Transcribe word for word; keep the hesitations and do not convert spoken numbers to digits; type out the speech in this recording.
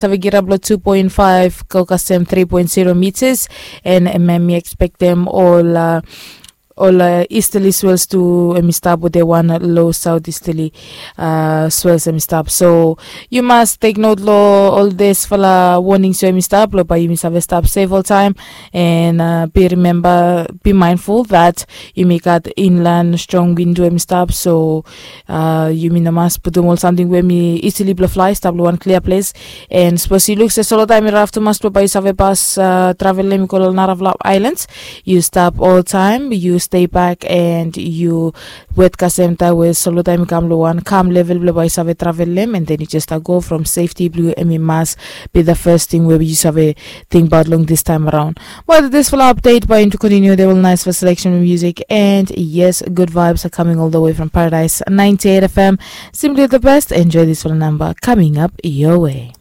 save girap long two point five go kasem three point zero meters. And em mi expectem ol uh, ol uh, easterly swells tu em i stap with a one low southeasterly uh, swells em i stap. So you must take note lo ol disfala warnings so em i stap lo bai yumi save stap safe all time. And uh, be remember, be mindful that yumi gat inland strong wind em i stap. So uh, yumi no mas putum ol samting we mi easily blo fly stap lo one clear place. And suppose you look se solo time i raf tumas blo bai yu save pas uh, travel lem i go lo narafla islands, you stop all time, you stay back and you wet kasem time we solo time i kam lo one calm level blo bai yu save travel lem. And then you just uh, go from safety blue em i mas be the first thing we yu save think about long this time around. But this full update by into continue, they will nice for selection of music. And yes, good vibes are coming all the way from Paradise ninety-eight F M. Simply the best. Enjoy this full number coming up your way.